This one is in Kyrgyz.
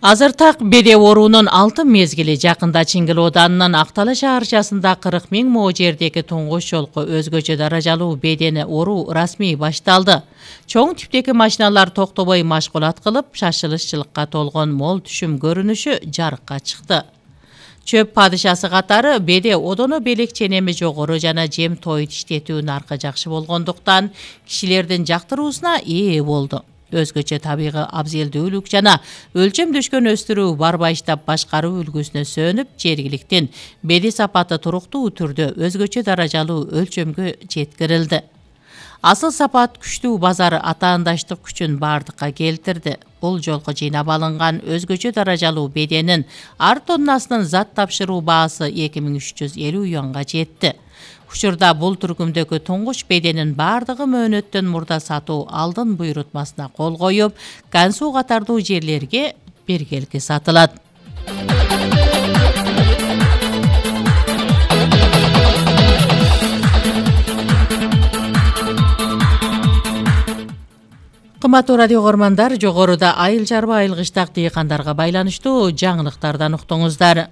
Азыр так беде оорунун алтын мезгили. Жакында Чиңгил Оданынын Актала шаарчасында 40 000 мо жердеги туңгуч жолку өзгөчө даражалуу бедени оору расмий башталды. Чоң типтеги машиналар токтобой машгулат кылып, шашылышчылыкка толгон мол түшүм көрүнүшү жарыкка чыкты. Чөп падышасы катары беде одоно белек ченеми жогору жана жем той иштетүү наркы жакшы болгондуктан кишилердин жактыруусуна ээ болду. Өзгөчө табигый абзелдүүлүк жана өлчөмдөшкөн өстүрүү бар баштап башкаруу үлгүсүнө сөнүп, жергиликтин беди сапаты туруктуу түрдө өзгөчө даражалуу өлчөмгө жеткирилди. Асыл сапат күчтүү базар атаандаштык күчүн бардыкка келтирди. Бул жолку жыйнап алынган өзгөчө даражалуу беденин ар тоннасынын зат тапшыруу баасы 2350 юанга жетти. Учурда бул түркүмдөгү туңгуч беденин бардыгы мөөнөттөн мурда сатуу алдын буйрутмасына кол коюп, Кансуу катардуу жерлерге биргелки сатылат. Кымбаттуу радио көрөрмандар, жогоруда айыл чарба айыл кыштак дыйкандарга байланыштуу жаңылыктардан уктуңуздар.